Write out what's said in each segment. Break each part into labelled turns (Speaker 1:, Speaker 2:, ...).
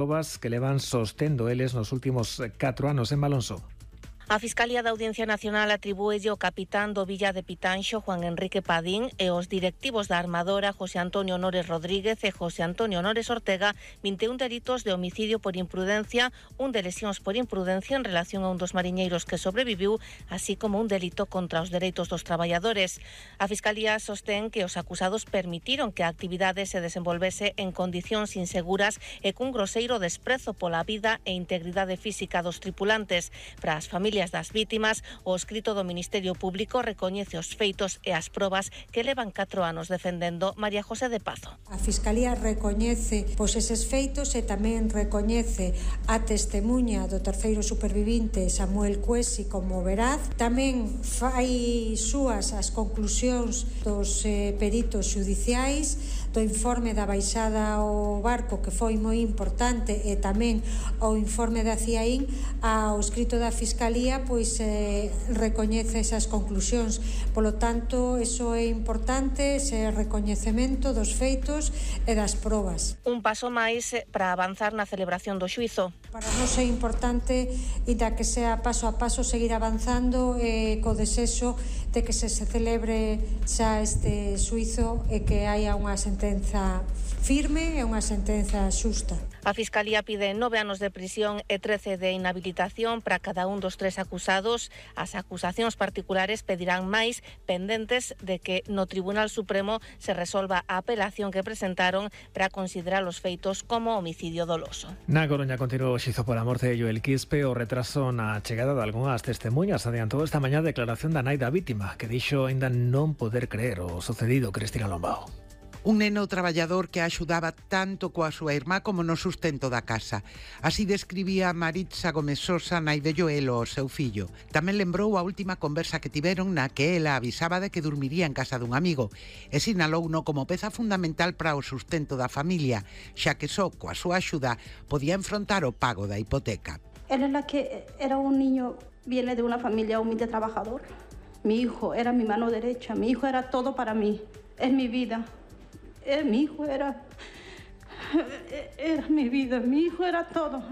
Speaker 1: probas que levan sostendo eles nos últimos 4 anos en Malonso.
Speaker 2: A Fiscalía da Audiencia Nacional atribúelle o capitán do Villa de Pitanxo, Juan Enrique Padín, e os directivos da armadora, José Antonio Nores Rodríguez e José Antonio Nores Ortega, 21 delitos de homicidio por imprudencia, un de lesións por imprudencia en relación a un dos mariñeiros que sobreviviu, así como un delito contra os dereitos dos traballadores. A Fiscalía sostén que os acusados permitiron que a actividade se desenvolvese en condicións inseguras e cun groseiro desprezo pola vida e integridade física dos tripulantes. Para as familias das vítimas, o escrito do Ministerio Público recoñece os feitos e as probas que levan 4 anos defendendo María José de Pazo.
Speaker 3: A Fiscalía recoñece eses feitos e tamén recoñece a testemuña do terceiro supervivinte Samuel Cuesi como veraz. Tamén fai súas as conclusións dos peritos xudiciais, do informe da baixada ao barco, que foi moi importante, e tamén o informe da CIAIN. Ao escrito da Fiscalía recoñece esas conclusións. Polo tanto, eso é importante, ese recoñecemento dos feitos e das probas.
Speaker 2: Un paso máis para avanzar na celebración do xuízo.
Speaker 3: Para nós é importante, inda que sea paso a paso, seguir avanzando co desexo de que se celebre xa este xuízo e que haya unha sentenza firme e unha sentenza xusta.
Speaker 2: A Fiscalía pide 9 anos de prisión e 13 de inhabilitación para cada un dos 3 acusados. As acusacións particulares pedirán máis, pendentes de que no Tribunal Supremo se resolva a apelación que presentaron para considerar os feitos como homicidio doloso.
Speaker 1: Na Coruña continuou o xizo pola morte de Joel Quispe. O retraso na chegada de algunhas testemunhas adiantou esta mañá a declaración da nai da vítima, que dixo aínda non poder creer o sucedido. Cristina Lombao.
Speaker 4: Un neno traballador que axudaba tanto coa súa irmá como no sustento da casa. Así describía Maritza Gómez Sosa, nai de Joel, o seu fillo. Tamén lembrou a última conversa que tiveron na que ela avisaba de que dormiría en casa dun amigo e sinalouno como peza fundamental para o sustento da familia, xa que só coa súa axuda podía enfrontar o pago da hipoteca.
Speaker 5: Era la que era un niño, viene de una familia humilde trabajador. Mi hijo era mi mano derecha, mi hijo era todo para mí, es mi vida. Mi hijo era mi vida, mi hijo era todo.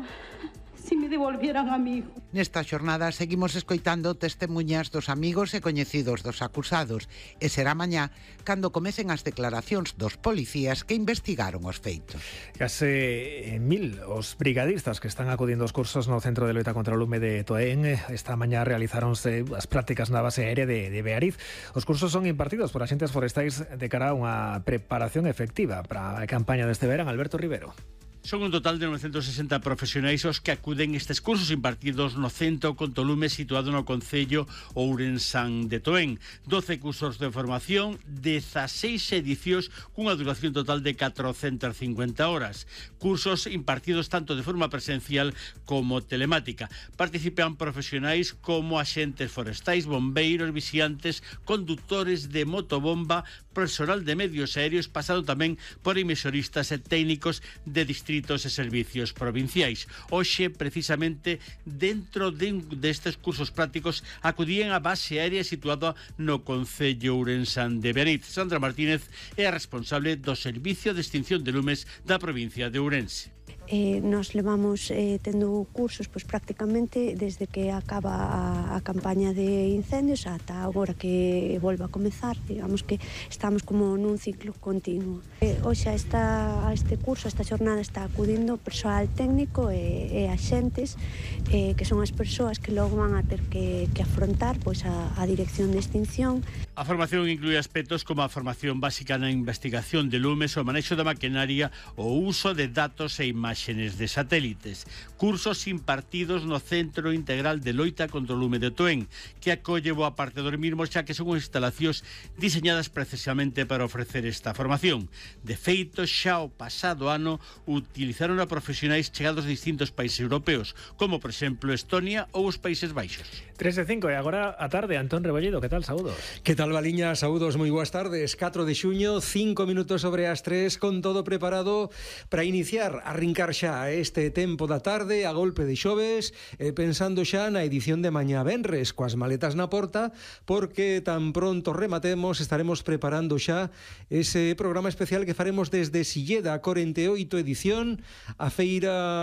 Speaker 5: Si me devolvieran a mi hijo.
Speaker 4: Nesta xornada seguimos escoitando testemuñas dos amigos e coñecidos dos acusados e será mañá cando comecen as declaracións dos policías que investigaron os feitos.
Speaker 1: Case 1000 os brigadistas que están acudindo aos cursos no Centro de Loita contra o Lume de Toén. Esta mañá realizáronse as prácticas na base aérea de Beariz. Os cursos son impartidos por axentes forestais de cara a unha preparación efectiva para a campaña deste verán. Alberto Rivero.
Speaker 6: Son un total de 960 profesionais os que acuden estes cursos impartidos no Centro Contolume situado no concello Ourensán de Toén. 12 cursos de formación, 16 edicións cunha duración total de 450 horas. Cursos impartidos tanto de forma presencial como telemática. Participan profesionais como axentes forestais, bombeiros, vixiantes, conductores de motobomba, personal de medios aéreos, pasado tamén por emisoristas e técnicos de distritos e servicios provinciais. Hoxe, precisamente, dentro destes cursos prácticos, acudían á base aérea situada no concello Ourensán de Beariz. Sandra Martínez é a responsable do Servicio de Extinción de Lumes da provincia de Ourense.
Speaker 7: Nos levamos tendo cursos prácticamente desde que acaba a campaña de incendios ata agora que volva a comezar. Digamos que estamos como nun ciclo continuo. Hoxe a este curso, a esta xornada, está acudindo persoal técnico e axentes que son as persoas que logo van a ter que afrontar a dirección de extinción.
Speaker 6: A formación inclúe aspectos como a formación básica na investigación de lumes, o manexo da maquinaria, o uso de datos e imaxes de satélites. Cursos impartidos no Centro Integral de Loita contra o Lume de Toén, que acolle boa parte dos mesmos, xa que son instalacións diseñadas precisamente para ofrecer esta formación. De feito, xa o pasado ano utilizaron a profesionais chegados de distintos países europeos, como por exemplo Estonia ou os Países Baixos.
Speaker 1: 3:05 e agora a tarde. Antón Rebolledo, que tal? Saúdos.
Speaker 8: Que tal, Baliña? Saúdos, moi boas tardes. 4 de xuño, 5 minutos sobre as 3, con todo preparado para iniciar, arrincar xa este tempo da tarde, a golpe de xoves, pensando xa na edición de mañá venres, coas maletas na porta, porque tan pronto rematemos estaremos preparando xa ese programa especial que faremos desde Silleda, 48 edición, a feira